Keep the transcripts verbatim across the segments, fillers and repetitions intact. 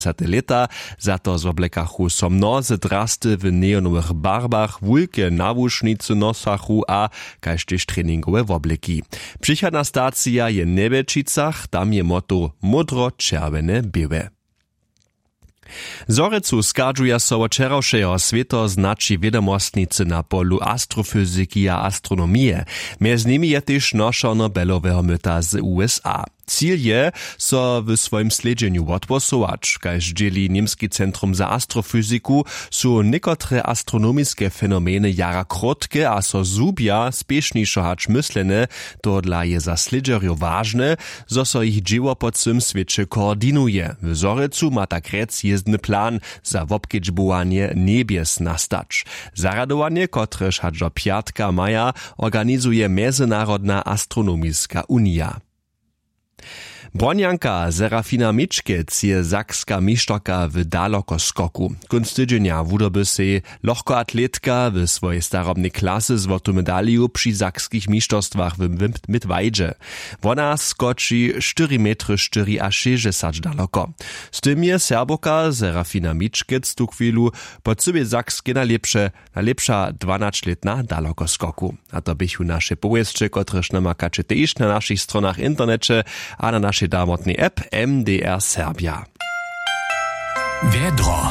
dwacete lěta. Za to zwoblekachu so mnozy drasty w neonowych barbach, wulke nawušnicy nosachu a kaž tež treningowe wobleki. Přichodna stacija je w njebjelčicach, tam je moto módro čerwjene běłe. Zhorjelcu schadźuja so wot wčerawšeho swěto znaći wědomostnicy na polu astrofyziki a astronomije. Mjez nimi je tež nošer nobeloweho myta z usa. Cil je, so w swojim slědźenju wotpłosować. Kaž dźěli němski centrum za astrofyziku, su někotre astronomiske fenomeny jara krótke a so zhubja spěšnišo hač myslene. Tohodla je za slědźerjow wažne, zo so jich dźěło po cyłym swěće koordinuje. W zhorjelcu ma tak rjec jězbny plan za wobkedźbowanje njebjes nastać. Zarjadowanje, kotrež hač do pjatka maja, organizuje mjezynarodna astronomiska unija. Brjonjanka serafina mičkec je sakska mišterka w dalokoskoku. Kónc tydźenja wudoby sej lochkoatletka w swojej starobnej klasy złotu medaliju při sakskich mišterstwach w midwajdźe. Wona skoči štyri metry štyriašěsćdźesat daloko. Z tym je serbowka serafina mičkec tuchwilu po cyłej sakskej najlěpše najlěpša dwanaćlětna dalokoskoku. A to běchu naše powěsće, kotrež namakaće tež na našich stronach w interneće a na našej damotnej app mdr serbja. Wjedro.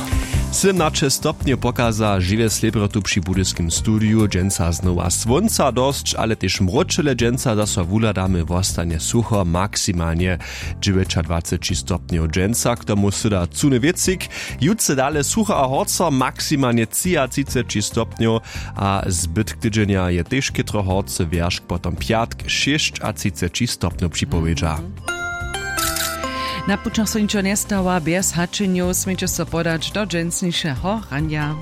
Sydomnaće stopnjow pokaza žiwje slěbrotu při budyskim studiju. Dźensa znowa słónca dosć, ale tež mróčele. Dźensa zaso wuhladamy, wostanje sucho, maksimalnje dźewjećadwaceći stopnjow. Dźensa k tomu syda cuny wětřik. Jutře dale sucho a horco, maksimalnje třiatřiceći stopnjow. A zbytk tydźenja je tež chětro horcy, wjeršk potom pjatk šěsćatřiceći stopnjow připowědźa. Na pućach so ničo njestała bjez hačenjow, směće so podać do dźensnišeho ranja.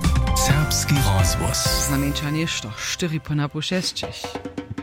Serbski rozhłos. Znamjeńša něšto štyri po napoł šesćich.